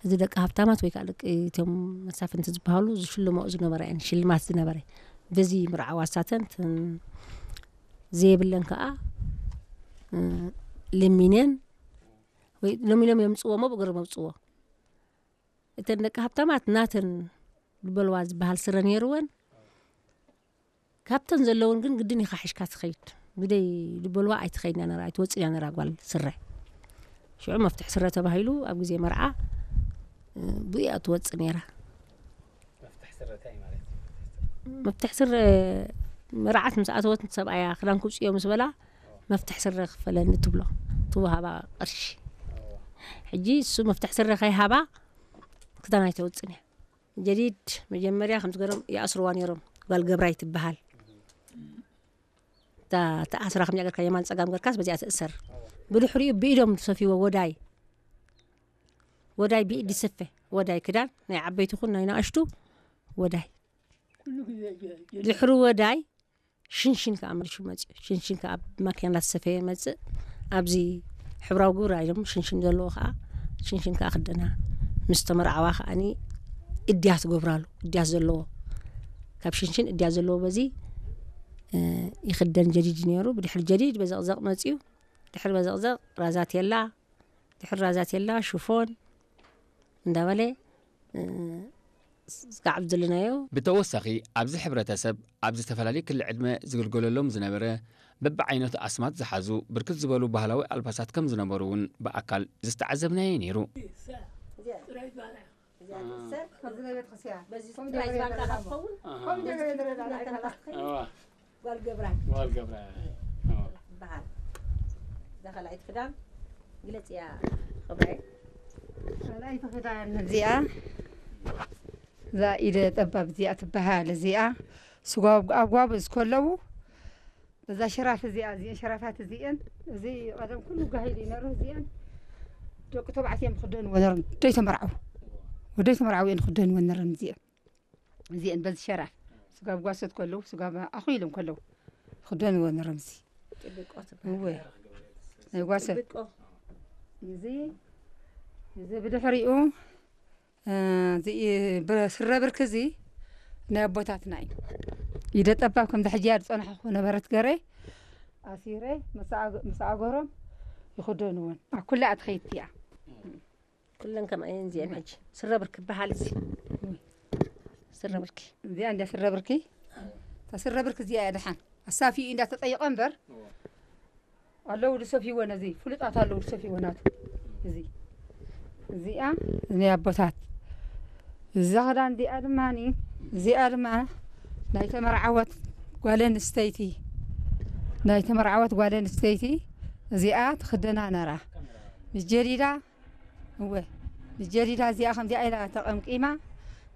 እዚ ደቂ ሃብታማት ወይ ከዓ ደቂ እቶም መሳፍንቲ ዝበሃሉ ዝሽልመኦ ዝነበረ እየን፣ ሽልማት ዝነበረ። በዚ ምርዓዋ ሳተን፣ እተን ዘየብለን ከዓ፣ እ፣ ለሚነን ወይ ሎሚ ሎም የምፅዎ እሞ ብእግሮም የምፅዎ። እተን ደቂ ሃብታማት ናተን ዝበልዋ ዝበሃል ስረ ነይርወን። ካብተን ዘለውን ግን ግድን ኢኻ ሒሽካ ትኸይድ። ብደይ ዝበልዋ ኣይትኸይድን እያ ነራ፣ ኣይትወፅን እያ ነራ ጓል ስረ። ሽዑ መፍትሕ ስረ ተባሂሉ ኣብ ግዜ መርዓ፣ እ፣ ብኡ እያ ትወፅእ ነይራ። መፍትሕ ስረ እንታይ ማለት እዩ? መፍትሕ ስረ መርዓት ምስ ኣተወት ሰብኣያ ክዳን ክውፅዮ ምስ በላ መፍትሕ ስረ ክፈለኒ ትብሎ፣ ትወሃባ ቅርሺ። ሕጂ እሱ መፍትሕ ስረ ከይሃባ ክዳን ኣይተውፅን እያ። ጀዲድ መጀመርያ ከምዚ ገሮም ይኣስርዋ ነይሮም። ጓል ገብራይ ትበሃል። እታ ተኣስራ ከምዚኣ ገርካ የማን ጸጋም ገርካስ በዚኣ ትእሰር። ብድሕሪኡ ብኢዶም ዝሰፍይዎ ወዳይ፣ ወዳይ ብኢድ ዝስፈ፣ ወዳይ ክዳን ናይ ዓበይቲ ይኹን ናይ ንኣሽቱ ወዳይ። ድሕሪ ወዳይ ሽንሽን ከኣ መሊሱ መጽእ። ሽንሽን ከኣ ብማኪና እናተሰፈየ መጽእ። ኣብዚ ሕብራዊ ግብሪ ኢሎም ሽንሽን ዘለዎ ከኣ፣ ሽንሽን ከኣ ክደና። ምስ ተመርዓዋ ከኣኒ እድያት ትገብራሉ፣ እድያት ዘለዎ። ካብ ሽንሽን እድያት ዘለዎ በዚ፣ እ፣ ይኽደን ጀዲድ ነይሩ። ብድሕሪ ጀዲድ በዘቕዘቕ መጽዩ። ድሕሪ በዘቕዘቕ ራዛቴላ፣ ድሕሪ ራዛቴላ ሽፎን እንዳበለ፣ እ፣ ዝጋዕብ ዘለናዮ። ብተወሳኺ፣ ኣብዚ ሕብረተሰብ ኣብ ዝተፈላለየ ክሊ ዕድመ ዝግልገለሎም ዝነበረ በብዓይነቱ ኣስማት ዝሓዙ ብርክት ዝበሉ ባህላዊ ኣልባሳት ከም ዝነበሩ እውን ብኣካል ዝተዓዘብናዮ ነይሩ። እዚኣ ትእሰር፣ ኣብዚ ናይ ቤተክርስትያን። በዚ ኮም ጥራይ ገለ ዝበልካ ገለ ክትኸውን? ኣሃ። ኮም ገለ ገለ ገለ ኣይተላኽኸይ። እዋ። ጓል ገብራይ። ጓል ገብራይ። እዋ። ትበሃል። እዛ ካልኣይቲ ክዳን ግለጽ እያ፣ ገብራይ። ካልኣይቲ ክዳን እዚኣ፣ እዛ ኢደ ጠባብ እዚኣ ትበሃል። እዚኣ ስጓብ ኣብ ጓብ ዝከለዉ፣ በዛ ሸራፍ እዚኣ፣ እዚአን ሸራፋት እዚአን፣ እዚ ቀደም ኩሉ ጋሂድ እዩ ነሩ። እዚአን ደቂ ተባዕትዮ እዮም ክደንዎ ነሮም። ደይ ተመርዓው። ወደይ ተመርዓው እዮም ክደንዎ ነሮም እዚአን። እዚአን በዚ ሸራፍ ስጋብ ጓሶት ከለዉ፣ ስጋብ ኣኹ ኢሎም ከለዉ ክደንዎ ነሮም። እዚ ጥብቆ ትበሃል። እወ። ናይ ጓሶት። ጥብቆ። እዚ፣ እዚ ብድሕሪኡ፣ እ፣ እዚ ብረ-፣ ስረ ብርኪ እዚ ናይ ኣቦታትና እዩ። ኢደ ጠባብ ከምዚ ሕጂ እያ ዝጸናሕኩ ነበረት ገረ ኣሲረ ምስ ኣገ-፣ ምስ ኣገሮም ይኽደንወን። ኣብ ኩላ እያ ትኸይድ እያ። ኩለን ከምኣ እየን እዚአን ሕጂ። ስረ ብርኪ ይበሃል እዚ። ስረ ብርኪ። እዚኣ እንደ ስረ ብርኪ። እታ ስረ ብርኪ እዚኣ እያ ደሓን። ኣሳፊኡ እንዳተጠየቐ እምበር። ኣለዉ ዝሰፍይዎ ነዚ፣ ፍሉጣት ኣለዉ ዝሰፍይዎ ናቱ። እዚ። እዚኣ ናይ ኣቦታት። እዛ ክዳን እዚኣ ድማኒ፣ እዚኣ ድማ ናይ ተመርዓወት ጓል ኣንስተይቲ፣ ናይ ተመርዓወት ጓል ኣንስተይቲ እዚኣ ትኽደና ነራ። ምስ ጀዲዳ፣ እወ፣ ምስ ጀዲዳ እዚኣ ከምዚኣ ኢላ ተቐምቂማ፣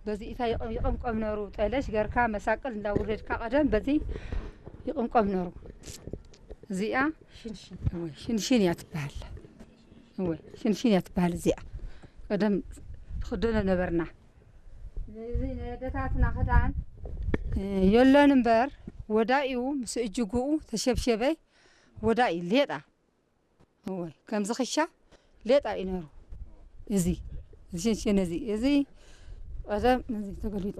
በዚ እታ ይቐም-፣ ይቐምቀም ነሩ፣ ጠለሽ ገርካ መሳቅል እንዳውረድካ ቀደም በዚ ይቕምቀም ነሩ። እዚኣ ሽንሽን። እወ፣ ሽንሽን እያ ትበሃል። እወ፣ ሽንሽን እያ ትበሃል እዚኣ። ቀደም ትኽደኖ ነበርና። እዚ ናይ ኣደታትና ክዳን፣ እ፣ የሎን እምበር፣ ወዳኢኡ ምስ እጅጉኡ ተሸብሸበ፣ ወዳኢ ሌጣ። እወ፣ ከምዚ ክሻ ሌጣ እዩ ነሩ። እዚ፣ እዚ ሽንሽን እዚ፣ እዚ ቀደም፣ እዚ ተገሊጡ፣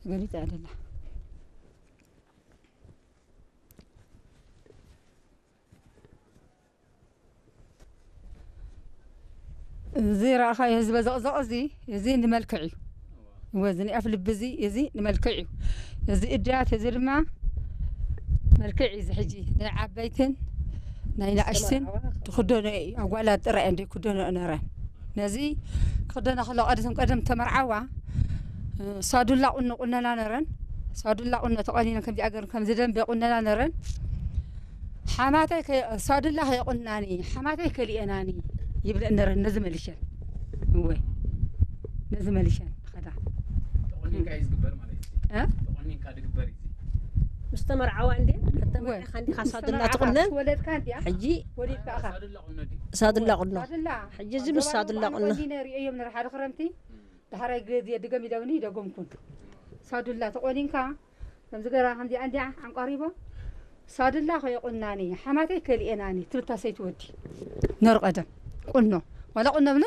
ተገሊጡ እያ ደላ። እዚ ረኣኻዮ፣ እዚ በዘቕዘቕ እዚ፣ እዚ ንመልክዕ እዩ። እወ፣ እዚ ናይ ኣፍ ልቢ እዚ፣ እዚ ንመልክዕ እዩ። እዚ እድያት እዚ ድማ መልክዕ እዩ። እዚ ሕጂ ናይ ዓበይትን ናይ ንኣሽትን ትኽደኖ እዩ። ኣጓላት ጥራይ እንደ ክደኖ ነረን። ነዚ ክኽደና ከሎ ቀደም፣ ቀደም ተመርዓዋ፣ እ፣ ሳዱላ ቁኖ ቁነና ነረን። ሳዱላ ቁኖ ተቆኒነን ከምዚኣ ገይረን ከምዚ ደንበ ቁነና ነረን። ሓማተይ ከ-፣ ሳዱላ ከይቁናኒ፣ ሓማተይ ከሊኤናኒ ይብለን ነረን። ነዚ መሊሸን። እወ። ነዚ መሊሸን ኸዳ። ተቆኒንካ እዩ ዝግበር ማለት እዩ። እ? ተቆኒንካ ድግበር እዩ። ምስ ተመርዓዋ እንዴ? እወ። ከተመርዕኻ እንዲኻ ምስ ሳዱላ ተመርዓኻ፣ ትቑነን? ምስ ወለድካ እንዲያ? ሕጂ ወሊድካ ኢኻ። ሳዱላ ቁኖ ድዩ? ሳዱላ ቁኖ። ሳዱላ። ሕጂ እዚ ምስ ኣገባብ ሳዱላ ምዃኑ ቁኖ። ቆኒነ ርእዮም ነረ ሓደ ክረምቲ። ዳሕራይ ግዜ ድገም ኢለውኒ ይደገምኩን። ሳዱላ ተቆኒንካ፣ ከምዚ ገራ ከምዚኣ እንዲያ ኣንቋሪቦ፣ ሳዱላ ከይቁናኒ፣ ሓማተይ ከሊኤናኒ፣ ትብል እታ ሰይቲ ወዲ። ነሩ ቀደም። ቁኖ። ዋላ ቁኖ